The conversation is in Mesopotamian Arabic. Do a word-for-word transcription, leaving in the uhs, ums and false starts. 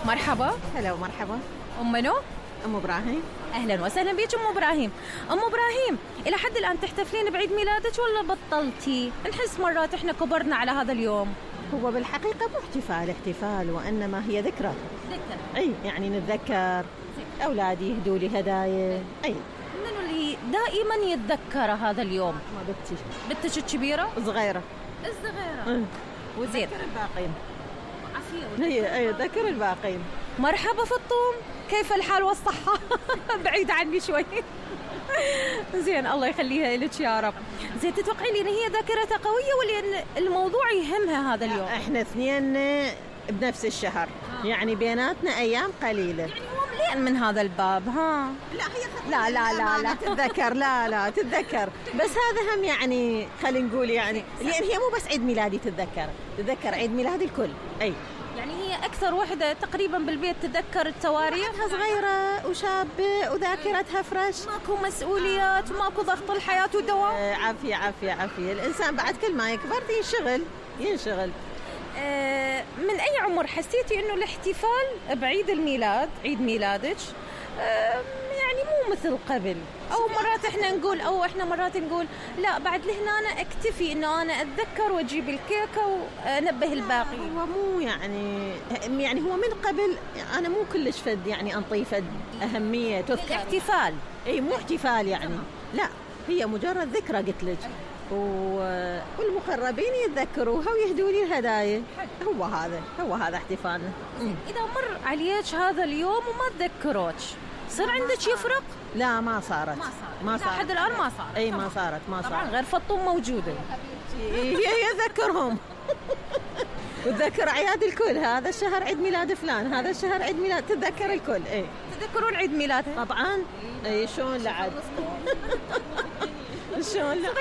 مرحبا. هلا ومرحبا. أم منو؟ أم إبراهيم. أهلا وسهلا بيك أم إبراهيم. أم إبراهيم، إلى حد الآن تحتفلين بعيد ميلادك ولا بطلتي؟ نحس مرات إحنا كبرنا على هذا اليوم. هو بالحقيقة مو احتفال احتفال وإنما هي ذكرى. ذكرى. أي يعني نتذكر أولادي يهدوا لي هدايا. أي منو اللي دائما يتذكر هذا اليوم؟ ما بنتي. بنتك الكبيرة؟ صغيرة. الصغيرة. وذكر الباقين. عافية. هي أي ذكر الباقين. مرحبا فطوم، كيف الحال والصحة؟ بعيد عني شوي. زين، الله يخليها لك يا رب. زين، تتوقعي لي ان هي ذاكرتها قوية ولا ان الموضوع يهمها هذا اليوم؟ احنا اثنين بنفس الشهر، آه. يعني بيناتنا ايام قليلة. يعني هو مليان من هذا الباب. ها لا هي لا لا لا لا تتذكر. لا لا تتذكر، بس هذا هم يعني خلينا نقول يعني لان هي مو بس عيد ميلادي تتذكر، تتذكر عيد ميلاد الكل. اي يعني هي أكثر وحدة تقريبا بالبيت تتذكر التواريخ. صغيرة وشابة وذاكرتها فرش، ماكو مسؤوليات وماكو ضغط الحياة والدوام. آه عافية عافية عافية. الإنسان بعد كل ما يكبر ينشغل ينشغل. آه من أي عمر حسيتي إنه الاحتفال بعيد الميلاد، عيد ميلادك، آه يعني مو مثل قبل؟ أو مرات إحنا نقول أو إحنا مرات نقول لا بعد لهنا أنا أكتفي إنه أنا أتذكر وأجيب الكيكة وأنبه الباقي. هو مو يعني يعني هو من قبل أنا مو كلش فد يعني أنطيفة أهمية تذكر الاحتفال. إيه مو احتفال يعني، لا هي مجرد ذكرى قلت لك، والمقربين يتذكروها ويهدوا لي الهدايا. هو هذا هو هذا احتفالنا. إذا مر عليك هذا اليوم وما تذكروك صار عندك يفرق؟ لا ما صارت. ما صارت لحد الآن. ما صارت. اي ما صارت ما صارت. طبعا غير فطوم موجودة. هي يذكرهم وتذكر أعياد الكل. هذا الشهر عيد ميلاد فلان، هذا الشهر عيد ميلاد، تتذكر الكل. اي تذكرون عيد ميلادها؟ طبعا. اي شلون لعد. شلون لعد.